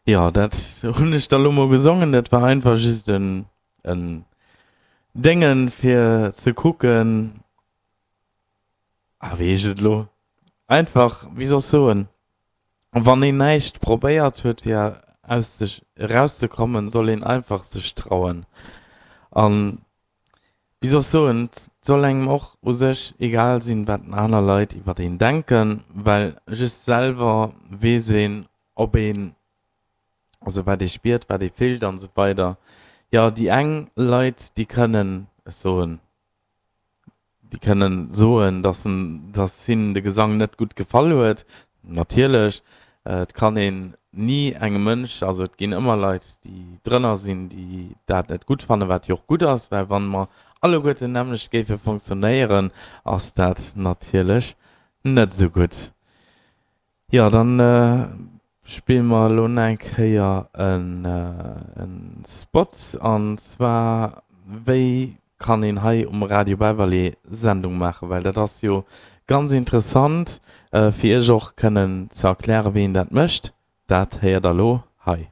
Jo, dat hunn ech da lo mol gesongen. Dat war einfach just en, en Déngen, fir ze kucken, ah, wéi heescht et elo? Einfach, wéi soll ech soen, wann een näischt probéiert huet, fir aus sech erauszekommen, soll een einfach sech trauen. An wéi soll ech soen, et soll engem och u sech egal sinn, wat aner Leit iwwert een denken, well just selwer weess een, ob een, also wat ee spiert, wat ee fillt an esou weider. Jo, déi eng Leit, déi kënnen, ech soen, Déi kënnen soen, dass en, dass hinnen de Gesang net gutt gefall huet. Natierlech, et kann een ni engem Mënsch, also et ginn ëmmer Leit, déi drënner sinn, déi dat net gutt fannen, wat jo och gutt ass, well wann mer alleguerten nämmlecht géife funktionéieren, ass dat natierlech net esou gutt. Jo, dann spille mer elo nach eng Kéier e Spot, an zwar wéi kann een hei um Radio Beverley Sendung maachen, well dat ass jo ganz interessant fir iech och kënnen ze erklären, wéi een dat mécht. Dat héiert der elo hei.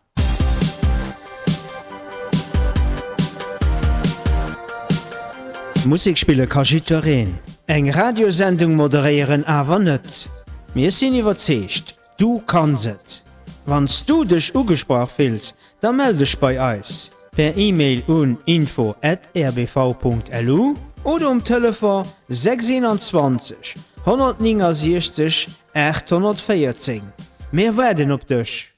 Musek spille ka jiddwereen, eng Radiosendung moderéieren awer net. Mir sinn iwwerzeegt, du kanns et! Wann s du dech ugesprach fills, da mell dech bei eis per E-Mail un info at rbv.lu oder um Telefon 621 169 814. Mir waarden op dech!